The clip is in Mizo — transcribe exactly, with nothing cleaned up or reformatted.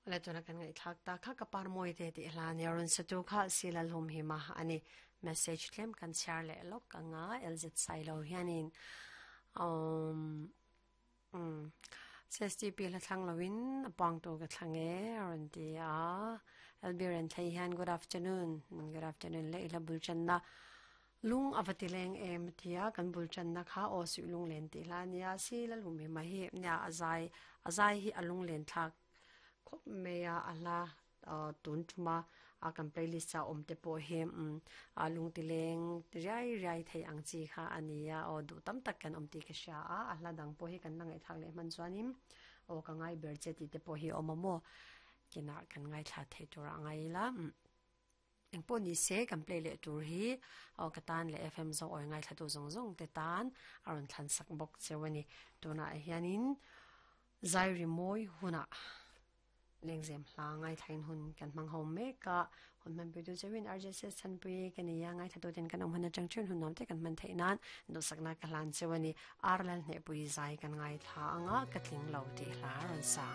Le tuna kan ngai thak ta kha ka par moi te ti hla ni arun satu kha silal hum hi ma ani. Message tlem kan share le lok anga L Z Sailo hianin um um C S T P la thlang lowin apang to ka thlange arun ti a. L B ren thai hian good afternoon, good afternoon le. Ila bul chan na lung avatileng em tia kan bul chan na kha o su lung len ti hla nia. Si la lum hi ma hi nia azai azai hi alung len thak khop meya ala tun thuma a kan playlist cha om te po hi um a lung ti leng riai riai thei ang chi kha ania. O du tam tak kan om ti ka sha a. A hla dang po hi kan ngai thak le man chuanim o ka ngai ber che ti te po hi omomo kina kan ngai thla thei tur angai la. Eng po ni se, kan play le tur hi o katan le F M zo oi ngai thla tu zong zong te tan aron thlan sak bok chewani. Tuna hianin zairi moi huna lengzem hla ngai thain hun kan mang ho me ka hun man pu tu chewin R J S chan pui kan ya ngai thatu ten kan om hana chang chun hun nam te kan man theinan do sakna ka hlan chewani. Arlal ne pui zai kan ngai tha anga, katling lo ti hla ron sa.